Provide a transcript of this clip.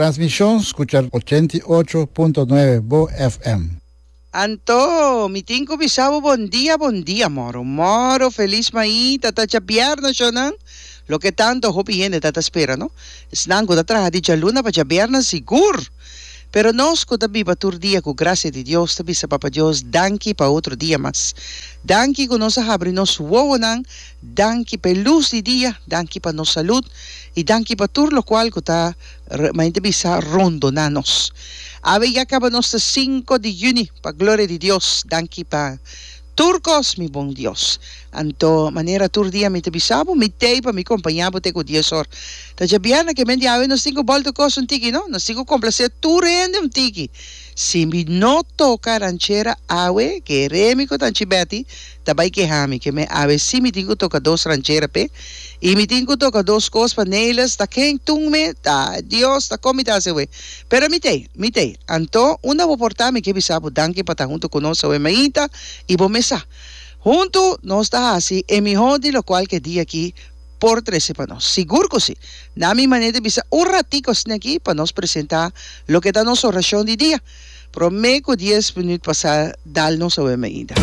transmishon skucha 88.9 Bo FM. Anto, mi tin ku bisa bo bon dia, bon dia moro. Moro, felis maita, ta djabièrnè shownan. Loke tanto hopi hende ta ta spera, no? Esnan ku ta traha di djaluna pa djabièrnè sigur. Pero nos ku ta biba tur dia ku grasia di Dios ta bisa Papa Dios danki pa otro dia mas. Danki ku nos a habri nos wowonan, danki pa e lus di dia, danki pa nos salud i danki pa tur lokual ku ta Main ta bisa rondoná nos. Awe ya kaba nos ta sinku di yüni, pa gloria di Dios. Danki pa tur kos, mi bon Dios. Anto, manera tur dia mi ta bisa bo, mi t'ei pa mi kompañá bo te ku dies or. Ta djabièrnè ke men di awe nos tin ku bòlta kos un tiki, no? Nos tin ku komplasé tur hende un tiki. Si mi no toka ranchera awe, kere mi ku Tanchi Betty ta bai keha mi ke me awe si mi tin ku toka dos ranchera p'e i mi tin ku toka dos kos pa Nelis ta ken tun me ta Dios ta kon mi ta hasi awe pero mi t'ei mi t'ei anto unda bo por ta mi ke bisa bo danki pa ta huntu ku nos awe mainta i bo mes sa huntu nos ta hasi e miho di lokual ke dia aki por trese pa nos sigur ku si na mi manera di bisa un ratiko asina aki pa nos presenta loke ta nos orashon di dia. Promé ku dies minüt pasá dal nos awe mainta.